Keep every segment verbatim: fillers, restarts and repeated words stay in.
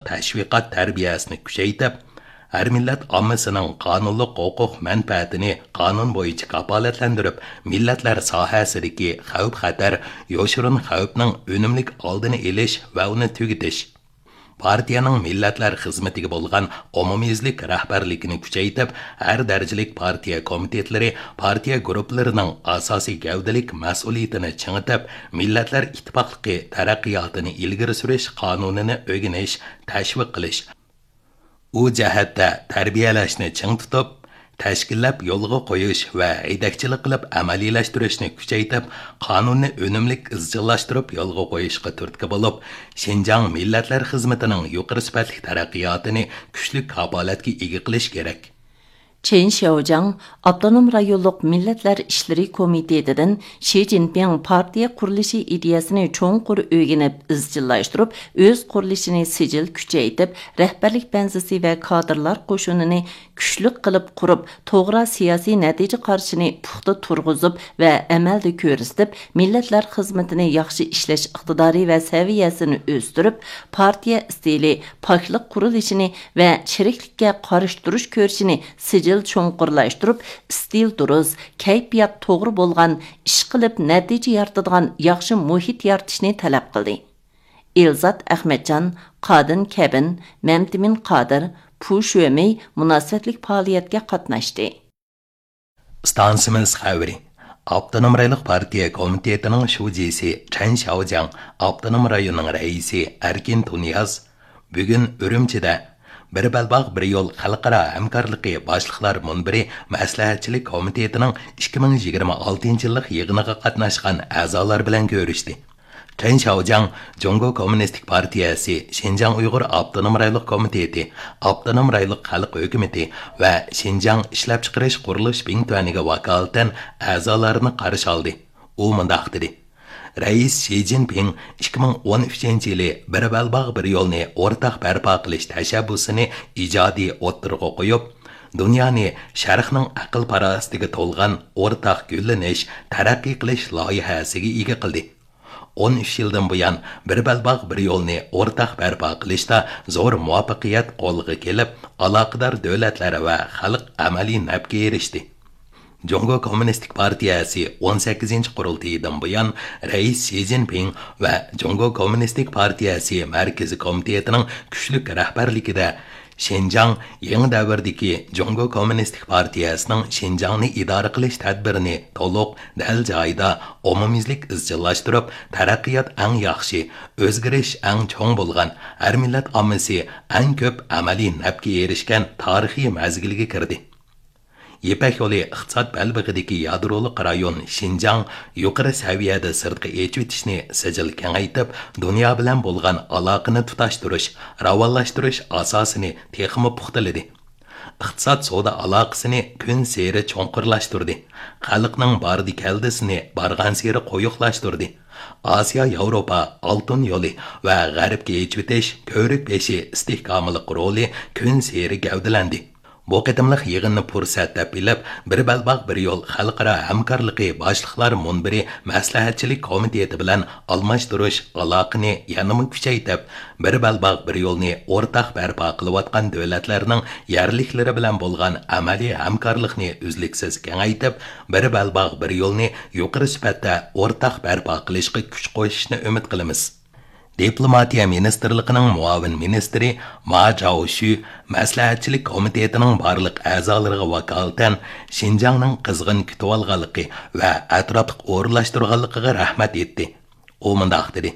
تەشۋىقات تەربىيەسىنى كۈچەيتىپ، ھەر مىللەت ئاممىسىنىڭ قانۇنلۇق ھوقۇق مەنپەئەتىنى قانۇن بويىچە كاپالەتلەندۈرۈپ، مىللەتلەر ساھەسىدىكى خەۋپ-خەتەر، يوشۇرۇن خەۋپنىڭ ئۈنۈملۈك ئالدىنى ئېلىش ۋە ئۇنى تۈگىتىش، پارتىيەنىڭ مىللەتلەر خىزمىتىگە بولغان ئومۇميۈزلۈك رەھبەرلىكىنى كۈچەيتىپ، ھەر دەرىجىلىك پارتىيە كومىتېتلىرى، پارتىيە گۇرۇپپىلىرىنىڭ ئاساسىي گەۋدىلىك مەسئۇلىيىتىنى چىڭىتىپ، مىللەتلەر ئىتتىپاقلىقى تەرەققىياتىنى ئىلگىرى سۈرۈش قانۇنىنى ئۆگىنىش، تەشۋىق قىلىش، ئۇ جەھەتتە تەربىيەلەشنى چىڭ تۇتۇپ، تەشكىللەپ يولغا قويۇش ۋە ھەيدەكچىلىك قىلىپ ئەمەلىيلەشتۈرۈشنى كۈچەيتىپ، قانۇننى ئۈنۈملۈك ئىزچىللاشتۇرۇپ يولغا قويۇشقا تۈرتكە بولۇپ، شىنجاڭ مىللەتلەر خىزمىتىنىڭ يۇقىرى سۈپەتلىك تەرەققىياتىنى كۈچلۈك كاپالەتكە ئىگە قىلىش كېرەك. چېن شياۋجياڭ ئاپتونوم رايونلۇق مىللەتلەر ئىشلىرى كومىتېتىدىن شى جىنپىڭ پارتىيە قۇرۇلۇشى ئىدىيەسىنى چوڭقۇر ئۆگىنىپ ئىزچىللاشتۇرۇپ، ئۆز قۇرۇلۇشىنى سىجىل كۈچەيتىپ، رەھبەرلىك بەنزىسى ۋە كادىرلار قوشۇنىنى كۈچلۈك قىلىپ قۇرۇپ، توغرا سىياسىي نەتىجە قارىشىنى پۇختا تۇرغۇزۇپ ۋە ئەمەلدە كۆرسىتىپ، مىللەتلەر خىزمىتىنى ياخشى ئىشلەش ئىقتىدارى ۋە سەۋىيەسىنى ئۆستۈرۈپ، پارتىيە ئىستىلى، پاكلىق قۇرۇلۇشىنى ۋە چىرىكلىككە قارشى تۇرۇش كۈرىشىنى سىجىل چوڭقۇرلاشتۇرۇپ، ئىستىل دۇرۇس، كەيپىيات توغرا بولغان، ئىشقىلىپ نەتىجە يارىتىدىغان ياخشى مۇھىت يارىتىشنى تەلەپ قىلدى. ئېلزات ئەخمەتجان، قادىن كەبىن، مەمتىمىن قادىر، پۇ شۈەمېي مۇناسىۋەتلىك پائالىيەتكە قاتناشتى. ئىستانسىمىز خەۋىرى. ئاپتونوم رايونلۇق پارتىيە كومىتېتىنىڭ شۇجىسى چەن شياۋجياڭ، ئاپتونوم رايوننىڭ رەئىسى ئەركىن تۇنىياز بۈگۈن ئۈرۈمچىدە بىر بەلباغ، بىر يول خەلقئارا ھەمكارلىقى باشلىقلار مۇنبىرى مەسلىھەتچىلىك كومىتېتىنىڭ ئىككى مىڭ يىگىرمە ئالتىنچى يىللىق يىغىنىغا قاتناشقان ئەزالار بىلەن كۆرۈشتى. چېن شياۋجياڭ جۇڭگو كوممۇنىستىك پارتىيەسى شىنجاڭ ئۇيغۇر ئاپتونوم رايونلۇق كومىتېتى، ئاپتونوم رايونلۇق خەلق ھۆكۈمىتى ۋە شىنجاڭ ئىشلەپچىقىرىش قۇرۇلۇش بىڭتۈەنىگە ۋاكالىتەن ئەزالارنى قارشى ئالدى. ئۇ مۇنداق دېدى: رەئىس شى جىنپىڭ ئىككى مىڭ ئون ئۈچىنچى يىلى بىر بەلباغ، بىر يولنى ئورتاق بەرپا قىلىش تەشەببۇسىنى ئىجادىي ئوتتۇرىغا قويۇپ، دۇنيانى شەرقنىڭ ئەقىل-پاراسىتىگە تولغان ئورتاق گۈللىنىش، تەرەققىي قىلىش لايىھەسىگە ئىگە قىلدى. ئون ئۈچ يىلدىن بۇيان، بىر بەلباغ، بىر يولنى ئورتاق بەرپا قىلىشتا زور مۇۋەپپەقىيەت قولغا كېلىپ، ئالاقىدار دۆلەتلەر ۋە خەلق ئەمەلىي نەپكە ئېرىشتى. جۇڭگو كوممۇنىستىك پارتىيەسى ئون سەككىزىنچى قۇرۇلتىيىدىن بۇيان، رەئىس شى جىنپىڭ ۋە جۇڭگو كوممۇنىستىك پارتىيەسى مەركىزىي كومىتېتىنىڭ كۈچلۈك رەھبەرلىكىدە، شىنجاڭ يېڭى دەۋردىكى جۇڭگو كوممۇنىستىك پارتىيەسىنىڭ شىنجاڭنى ئىدارە قىلىش تەدبىرىنى تولۇق، دەل جايىدا، ئومۇميۈزلۈك ئىزچىللاشتۇرۇپ، تەرەققىيات ئەڭ ياخشى، ئۆزگىرىش ئەڭ چوڭ بولغان، ھەر مىللەت ئاممىسى ئەڭ كۆپ ئەمەلىي نەپكە ئېرىشكەن تارىخىي مەزگىلگە كىردى. يىپەك يولى ئىقتىساد بەلبېغىدىكى يادرولۇق رايون شىنجاڭ يۇقىرى سەۋىيەدە سىرتقا ئېچىۋېتىشنى سىجىل كېڭەيتىپ، دۇنيا بىلەن بولغان ئالاقىنى تۇتاشتۇرۇش، راۋانلاشتۇرۇش ئاساسىنى تېخىمۇ پۇختىلىدى. ئىقتىساد سودا ئالاقىسىنى كۈنسېرى چوڭقۇرلاشتۇردى. خەلقنىڭ باردى-كەلدىسىنى بارغانسېرى قويۇقلاشتۇردى. ئاسىيا-ياۋروپا ئالتۇن يولى ۋە غەربكە ئېچىۋېتىش كۆۋرۈك بېشى ئىستىھكاملىق رولى كۈنسېرى گەۋدىلەندى. بۇ قېتىملىق يىغىننى پۇرسەت دەپ بىلىپ، بىر بەلباغ، بىر يول خەلقئارا ھەمكارلىقى باشلىقلار مۇنبىرى مەسلىھەتچىلىك كومىتېتى بىلەن ئالماشتۇرۇش ئالاقىنى يەنىمۇ كۈچەيتىپ، بىر بەلباغ، بىر يولنى ئورتاق بەرپا قىلىۋاتقان دۆلەتلەرنىڭ يەرلىكلىرى بىلەن بولغان ئەمەلىي ھەمكارلىقنى ئۈزلۈكسىز كېڭەيتىپ، بىر بەلباغ، بىر يولنى يۇقىرى سۈپەتتە ئورتاق بەرپا قىلىشقا كۈچ قوشۇشنى ئۈمىد قىلىمىز. دىپلوماتىيە مىنىستىرلىقىنىڭ مۇئاۋىن مىنىستىرى ما جاۋشۈ مەسلىھەتچىلىك كومىتېتىنىڭ بارلىق ئەزالىرىغا ۋاكالىتەن شىنجاڭنىڭ قىزغىن كۈتۈۋالغانلىقى ۋە ئەتراپلىق ئورۇنلاشتۇرغانلىقىغا رەھمەت ئېيتتى. ئۇ مۇنداق دېدى: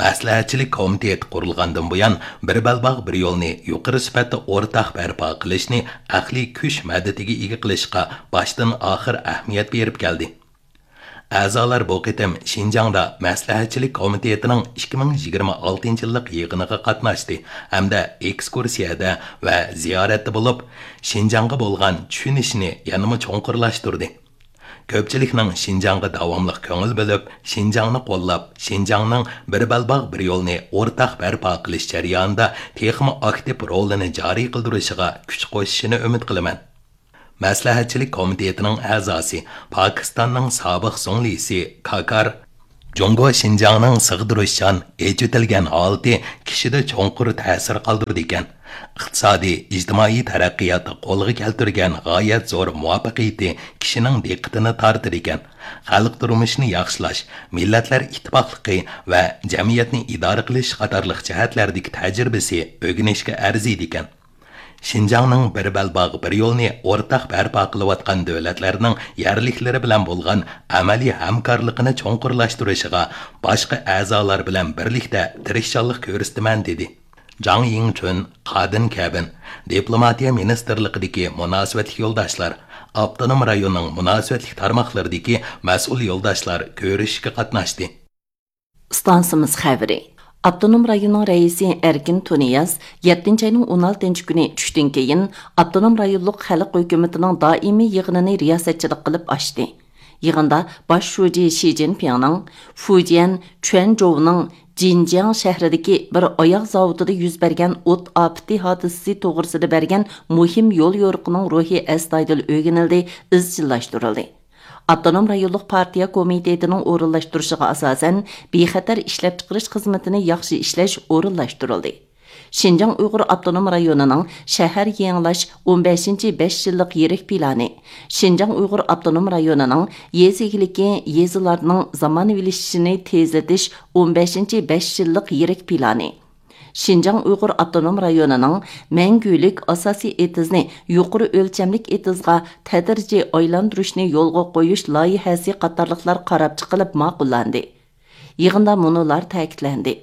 مەسلىھەتچىلىك كومىتېتى قۇرۇلغاندىن بۇيان، بىر بەلباغ، بىر يولنى يۇقىرى سۈپەتتە ئورتاق بەرپا قىلىشنى ئەقلىي كۈچ مەدىتىگە ئىگە قىلىشقا باشتىن ئاخىر ئەھمىيەت بېرىپ كەلدى. ئەزالار بۇ قېتىم شىنجاڭدا مەسلىھەتچىلىك كومىتېتىنىڭ ئىككى مىڭ يىگىرمە ئالتىنچى يىللىق يىغىنىغا قاتناشتى ھەمدە ئېكسكۇرسىيەدە ۋە زىيارەتتە بولۇپ، شىنجاڭغا بولغان چۈشىنىشىنى يەنىمۇ چوڭقۇرلاشتۇردى. كۆپچىلىكنىڭ شىنجاڭغا داۋاملىق كۆڭۈل بۆلۈپ، شىنجاڭنى قوللاپ، شىنجاڭنىڭ بىر بەلباغ، بىر يولنى ئورتاق بەرپا قىلىش جەريانىدا تېخىمۇ ئاكتىپ رولىنى جارى قىلدۇرۇشىغا كۈچ قوشۇشىنى ئۈمىد قىلىمەن. مەسلىھەتچىلىك كومىتېتىنىڭ ئەزاسى، پاكىستاننىڭ سابىق زۇڭلىسى كاكار جۇڭگو شىنجاڭنىڭ سىغدۇرۇشچان، ئېچىۋېتىلگەن ھالىتى كىشىدە چوڭقۇر تەسىر قالدۇرىدىكەن. ئىقتىسادىي، ئىجتىمائىي تەرەققىياتتا قولغا كەلتۈرگەن غايەت زور مۇۋەپپەقىيىتى كىشىنىڭ دىققىتىنى تارتىدىكەن. خەلق تۇرمۇشىنى ياخشىلاش، مىللەتلەر ئىتتىپاقلىقى ۋە جەمئىيەتنى ئىدارە قىلىش قاتارلىق جەھەتلەردىكى تەجرىبىسى ئۆگىنىشكە ئەرزىيدىكەن. شىنجاڭنىڭ بىر بەلباغ، بىر يولنى ئورتاق بەرپا قىلىۋاتقان دۆلەتلەرنىڭ يەرلىكلىرى بىلەن بولغان ئەمەلىي ھەمكارلىقىنى چوڭقۇرلاشتۇرۇشىغا باشقا ئەزالار بىلەن بىرلىكتە تىرىشچانلىق كۆرسىتىمەن، دېدى. جاڭ يىڭچۈن، قادىن كەبىن، دىپلوماتىيە مىنىستىرلىقىدىكى مۇناسىۋەتلىك يولداشلار، ئاپتونوم رايوننىڭ مۇناسىۋەتلىك تارماقلىرىدىكى مەسئۇل يولداشلار كۆرۈشۈشكە قاتناشتى. ئىستانسىمىز خەۋىرى. ئاپتونوم رايوننىڭ رەئىسى ئەركىن تۇنىياز يەتتىنچى ئاينىڭ ئون ئالتىنچى كۈنى چۈشتىن كېيىن ئاپتونوم رايونلۇق خەلق ھۆكۈمىتىنىڭ دائىمىي يىغىنىنى رىياسەتچىلىك قىلىپ ئاچتى. يىغىندا باش شۇجى شى جىنپىڭنىڭ فۇجيەن چۈەنجوۋنىڭ جىنجياڭ شەھىرىدىكى بىر ئاياغ زاۋۇتىدا يۈز بەرگەن ئوت ئاپىتى ھادىسىسى توغرىسىدا بەرگەن مۇھىم يول يورۇقىنىڭ روھى ئەستايىدىل ئۆگىنىلدى، ئىزچىللاشتۇرۇلدى. ئاپتونوم رايونلۇق پارتىيە كومىتېتىنىڭ ئورۇنلاشتۇرۇشىغا ئاساسەن، بىخەتەر ئىشلەپچىقىرىش خىزمىتىنى ياخشى ئىشلەش ئورۇنلاشتۇرۇلدى. شىنجاڭ ئۇيغۇر ئاپتونوم رايونىنىڭ شەھەر يېڭىلاش ئون بەشىنچى بەش يىللىق يىرىك پىلانى، شىنجاڭ ئۇيغۇر ئاپتونوم رايونىنىڭ يېزا ئىگىلىكى، يېزىلارنىڭ زامانىۋىلىشىشىنى تېزلىتىش ئون بەشىنچى بەش يىللىق يىرىك پىلانى، شىنجاڭ ئۇيغۇر ئاپتونوم رايونىنىڭ مەڭگۈلۈك ئاساسىي ئېتىزنى يۇقىرى ئۆلچەملىك ئېتىزغا تەدرىجىي ئايلاندۇرۇشنى يولغا قويۇش لايىھەسى قاتارلىقلار قاراپ چىقىلىپ ماقۇللاندى. يىغىندا مۇنۇلار تەكىتلەندى.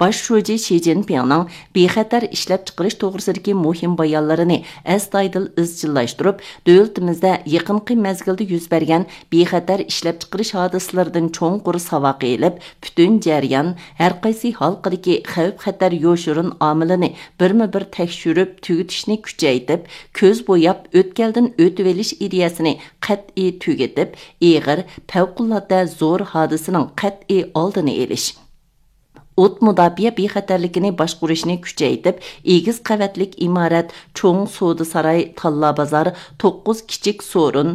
باش شۇجى شى جىنپىڭنىڭ بىخەتەر ئىشلەپچىقىرىش توغرىسىدىكى مۇھىم بايانلىرىنى ئەستايىدىل ئىزچىللاشتۇرۇپ، دۆلىتىمىزدە يېقىنقى مەزگىلدە يۈز بەرگەن بىخەتەر ئىشلەپچىقىرىش ھادىسىلىرىدىن چوڭقۇر ساۋاق ئېلىپ، پۈتۈن جەريان، ھەرقايسى ھالقىدىكى خەۋپ-خەتەر يوشۇرۇن ئامىلىنى بىرمۇ بىر تەكشۈرۈپ تۈگىتىشنى كۈچەيتىپ، كۆز بوياپ ئۆتكەلدىن ئۆتۈۋېلىش ئىدىيەسىنى قەتئىي تۈگىتىپ، ئېغىر، پەۋقۇلئاددە زور ھادىسىنىڭ قەتئىي ئالدىنى ئېلىش. ئوت مۇداپىئە بىخەتەرلىكىنى باشقۇرۇشنى كۈچەيتىپ، ئېگىز قەۋەتلىك ئىمارەت، چوڭ سودا ساراي، تاللا بازار، توققۇز كىچىك سورۇن،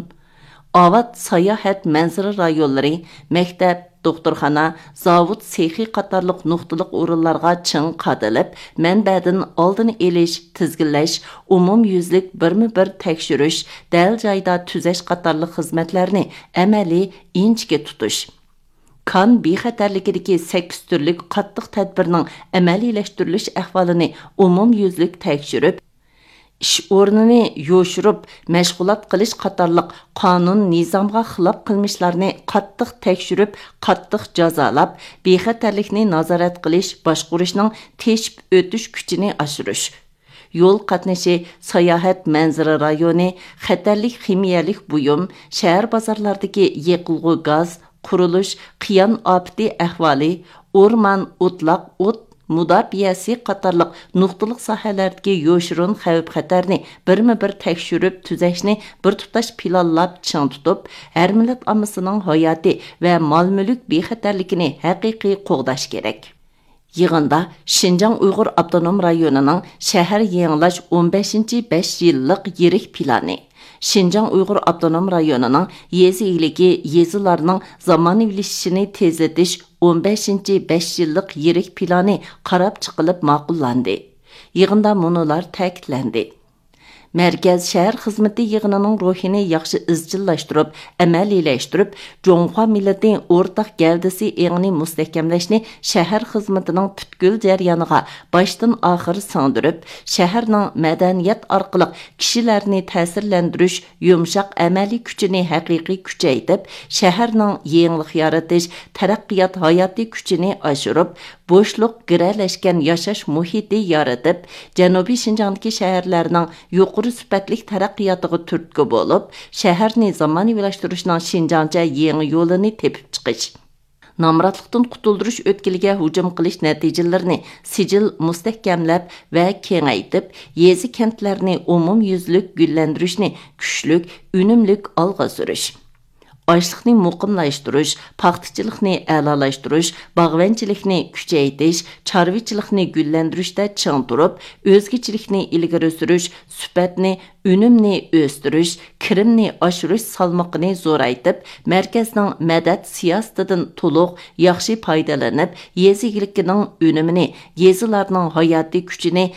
ئاۋات ساياھەت مەنزىرە رايونلىرى، مەكتەپ، دوختۇرخانا، زاۋۇت سېخى قاتارلىق نۇقتىلىق ئورۇنلارغا چىڭ قادىلىپ، مەنبەدىن ئالدىنى ئېلىش، تىزگىنلەش، ئومۇميۈزلۈك بىرمۇ بىر تەكشۈرۈش، دەل جايدا تۈزەش قاتارلىق خىزمەتلەرنى ئەمەلىي ئىنچىكە تۇتۇش. كان بىخەتەرلىكىدىكى سەككىز تۈرلۈك قاتتىق تەدبىرنىڭ ئەمەلىيلەشتۈرۈلۈش ئەھۋالىنى ئومۇميۈزلۈك تەكشۈرۈپ، ئىش ئورنىنى يوشۇرۇپ مەشغۇلات قىلىش قاتارلىق قانۇن، نىزامغا خىلاپ قىلمىشلارنى قاتتىق تەكشۈرۈپ، قاتتىق جازالاپ، بىخەتەرلىكنى نازارەت قىلىش، باشقۇرۇشنىڭ تېشىپ ئۆتۈش كۈچىنى ئاشۇرۇش. يول قاتنىشى، ساياھەت مەنزىرە رايونى، خەتەرلىك خىمىيەلىك بۇيۇم، شەھەر بازارلاردىكى يېقىلغۇ گاز، قۇرۇلۇش، قىيان ئاپىتى ئەھۋالى، ئورمان، ئوتلاق، ئوت مۇداپىئەسى قاتارلىق نۇقتىلىق ساھەلەردىكى يوشۇرۇن خەۋپ-خەتەرنى بىرمۇ بىر تەكشۈرۈپ تۈزەشنى بىر تۇتاش پىلانلاپ چىڭ تۇتۇپ، ھەر مىللەت ئاممىسىنىڭ ھاياتى ۋە مال-مۈلۈك بىخەتەرلىكىنى ھەقىقىي قوغداش كېرەك. يىغىندا شىنجاڭ ئۇيغۇر ئاپتونوم رايونىنىڭ شەھەر يېڭىلاش ئون بەشىنچى بەش يىللىق يىرىك پىلانى، شىنجاڭ ئۇيغۇر ئاپتونوم رايونىنىڭ يېزا ئىگىلىكى، يېزىلارنىڭ زامانىۋىلىشىشىنى تېزلىتىش ئون بەشىنچى بەش يىللىق يىرىك پىلانى قاراپ چىقىلىپ ماقۇللاندى. يىغىندا مۇنۇلار تەكىتلەندى. مەركەز شەھەر خىزمىتى يىغىنىنىڭ روھىنى ياخشى ئىزچىللاشتۇرۇپ، ئەمەلىيلەشتۈرۈپ، جۇڭخۇا مىللىتى ئورتاق گەۋدىسى ئېڭىنى مۇستەھكەملەشنى شەھەر خىزمىتىنىڭ پۈتكۈل جەريانىغا باشتىن ئاخىر سىڭدۈرۈپ، شەھەرنىڭ مەدەنىيەت ئارقىلىق كىشىلەرنى تەسىرلەندۈرۈش، يۇمشاق ئەمەلىي كۈچىنى ھەقىقىي كۈچەيتىپ، شەھەرنىڭ يېڭىلىق يارىتىش، تەرەققىيات ھاياتىي كۈچىنى ئاشۇرۇپ، بوشلۇق گىرەلەشكەن ياشاش مۇھىتى يارىتىپ، جەنۇبىي شىنجاڭدىكى شەھەرلەرنىڭ يۇقىرى سۈپەتلىك تەرەققىياتىغا تۈرتكە بولۇپ، شەھەرنى زامانىۋىلاشتۇرۇشنىڭ شىنجاڭچە يېڭى يولىنى تېپىپ چىقىش. نامراتلىقتىن قۇتۇلدۇرۇش ئۆتكىلىگە ھۇجۇم قىلىش نەتىجىلىرىنى سىجىل مۇستەھكەملەپ ۋە كېڭەيتىپ، يېزا، كەنتلەرنى ئومۇميۈزلۈك گۈللەندۈرۈشنى كۈچلۈك، ئۈنۈملۈك ئالغا سۈرۈش. ئاشلىقنى مۇقىملاشتۇرۇش، پاختىچىلىقنى ئەلالاشتۇرۇش، باغۋەنچىلىكنى كۈچەيتىش، چارۋىچىلىقنى گۈللەندۈرۈشتە چىڭ تۇرۇپ، ئۆزگىچىلىكنى ئىلگىرى سۈرۈش، سۈپەتنى، ئۈنۈمنى ئۆستۈرۈش، كىرىمنى ئاشۇرۇش سالمىقىنى زورايتىپ، مەركەزنىڭ مەدەت سىياسىتىدىن تولۇق، ياخشى پايدىلىنىپ، يېزا ئىگىلىكىنىڭ ئۈنۈمىنى، يېزىلارنىڭ ھاياتىي كۈچىنى